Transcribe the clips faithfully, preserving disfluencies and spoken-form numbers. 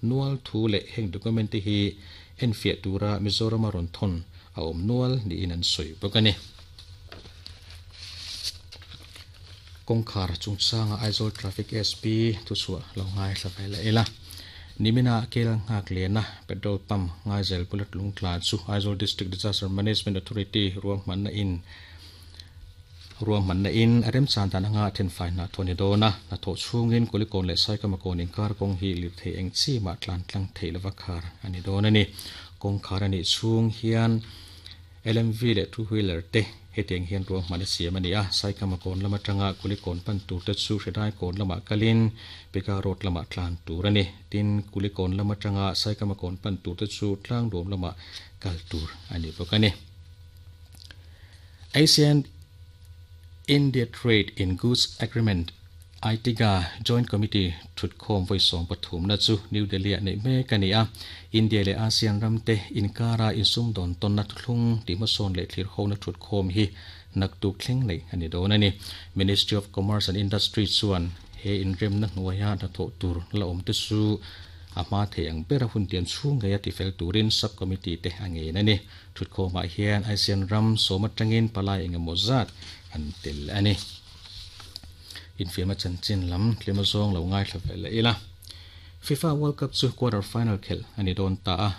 Nual thu le heng document te hi en fiah tura Mizoram a rawn thawn a awm nual niin an sawi bawk a ni. Kawngkhar chungchanga Aizawl Traffic S P thuchhuah lo ngai thla ve leh ila. Nimina kel nghak lena petrol pump ngaizel bullet lungtla chu Aizawl District Disaster Management Authority ruahmanna in ruahmanna in a remchan dan anga thenfai hna thawh ni dawn a. Hna thawh chhungin Kulikawn leh Saikamakawn inkar kawng hi lirthei eng chi mah tlan tlang theih lova khar a ni dawn a ni. Kawngkhar a nih chhung hian L M V leh two wheeler te hetiang hian ruahmanna siam a ni a. Saikamakawn lam atanga Kulikawn pan tur te chu Hridai kawn lamah kalin Pika Road lamah tlan tur a ni. Tin Kulikawn lam atanga Saikamakawn pan tur te chu Tlangdawm lamah kal tur a ni bawk a ni. ASEAN India Trade in Goods Agreement I T G A Joint Committee thutkhawm vawisom pathumna chu New Delhi ah neih mek a ni a. India leh ASEAN ramte inkara insum dawn tawnna thuthlung tih hmasawn leh thlir hona thutkhawm hi naktuk thleng nei a ni dawn a ni. Ministry of Commerce and Industry chuan he inremna hnuaia hnathawh tur la awm te chu a hma thei ang bera hun tiam chhung ngei a tifel turin subcommittee te a ngein a ni. Thutkhawmah hian ASEAN ram sawm atangin palai engemaw zat an tel a ni. Infiamna chanchin lam tlema zawng lo ngai thla ve leh ila. FIFA World Cup chu quarter final khelh a ni dawn ta a.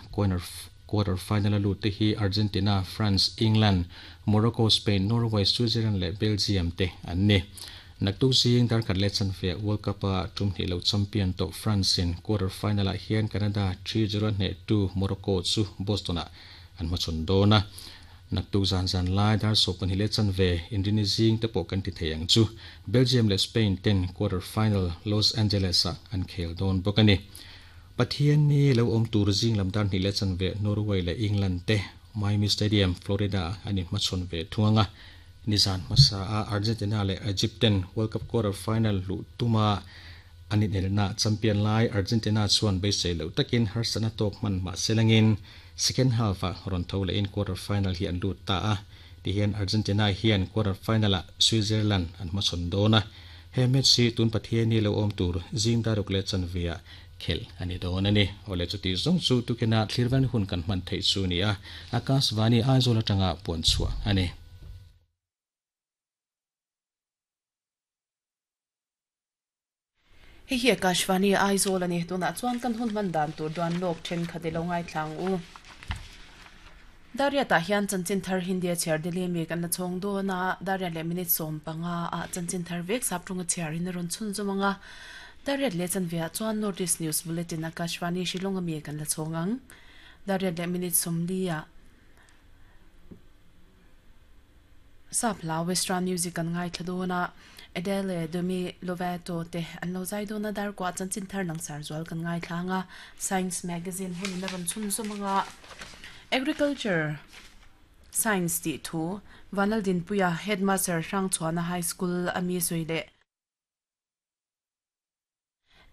Quarter final a lut te hi Argentina, France, England, Morocco, Spain, Norway, Switzerland leh Belgium te an ni. Naktuk zing darkhat leh chanve World Cup a tum hnih lo champion to France in quarter final ah hian Canada three zero hne two Morocco chu Boston ah an hmachhawn dawn a. Naktuk zan zan lai dar sawm pahnih leh chanve inrini zing te pawh kan ti thei ang chu. Belgium leh Spain ten quarter final Los Angeles ah an khel dawn bawk a ni. Pathian ni lo awm tur zing lam dar hnih leh chanve Norway leh England te Miami Stadium, Florida an inhmachhawn ve thung anga. Nizan hmasa a Argentina leh Egypt ten World Cup quarter final luh tuma an inelna champion lai Argentina chuan beisei lo takin harsatna tawk hman mah selangin second half ah rawn tho leh in quarter final hi an lut ta a. Tihian Argentina hian quarter final ah Switzerland an hmachhawn dawn a. He match hi tun Pathian ni lo awm tur zing daruk leh chanve ah khelh a ni dawn a ni. Awle chuti zawng chu tukina thlirvan hun kan hman theih chu ni a. Akashvani Aizawl atanga puan chhuah a ni. Hei hi Akashvani Aizawl a ni. Tunah chuan kan hun hman dan tur duan lawk thenkhat i lo ngai thlang u. Daria tah hian chanchin thar Hindia chhiar Delhi mi kan la chhawng dawn a. Daria leh minute sawm panga ah chanchin thar vek sap tunga chhiar in a rawn chhun zawm anga. Daria leh chanve ah chuan North East News Bulletin Akashvani Shillong ami kan la chhawng ang. Daria leh minute sawm li ah sap hla Western music kan ngai thla dawn a. Adele Demi Lovato te an lo zai dawn a. Dar kwa chanchin thar lang sar zual kan ngai thla anga. Science Magazine hun in a rawn chhun zawm anga. Agriculture Science ti thu Vanal Dinpuia Headmaster Hrangchhuana High School ami sui le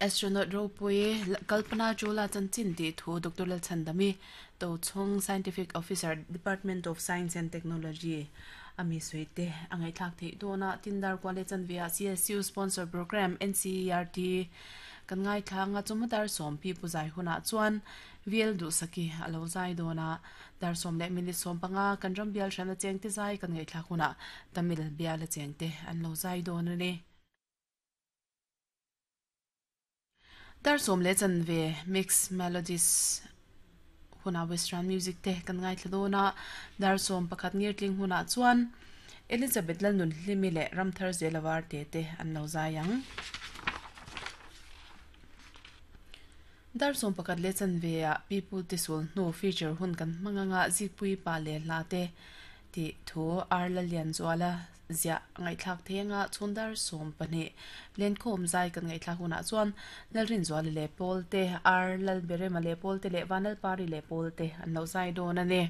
Astronaut Ropui Kalpana Chawla chanchin ti thu Doctor Lalchhandami Tochhawng Scientific Officer Department of Science and Technology ami sui te angai thlak thei dawn a. Tindar kwale chanvia C S U sponsor program N C E R T kan ngai thlanga chumadar som pi puzai huna chuan V L du saki alo zai dawn a. Dar som leh minute som panga kan ram bial hrana cheng te zai kan ngai thlak huna Tamil bial a cheng te an lo zai dawn ani. Dar som leh chanve mix melodies huna Western music te kan ngai thla dawn a. Dar som pakhat ngir tling huna chuan Elizabeth Lalnun hlimi leh Ramthar Zelawar te te an lo zai ang. Dar som pakhat leh chanve ah people te sul hnu feature hun kan hmanganga zikpui pa le hla te ti thu ar la lian zuala zia ngai thlak thenga chhundar som pahnih len khom zai kan ngai thlak huna chuan lalrin zuala le pol te ar lal berema le pol te le vanal pari le pol te an lo zai dawn ani.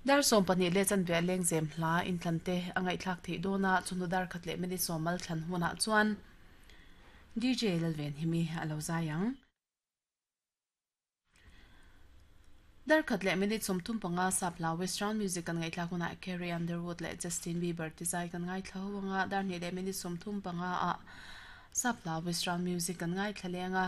Dar som pahnih le chanve leng zem hla in thlan te angai thlak thei dawna chunu dar khat leh minute som mal thlan huna chuan D J Lalven himi alo zai ang. Dar khat leh minute som thum panga sap hla Western music kan ngai thlak huna Carrie Underwood leh Justin Bieber ti zai kan ngai thla huanga. Dar hnih leh minute som thum panga ah sap hla Western music kan ngai thla lenga.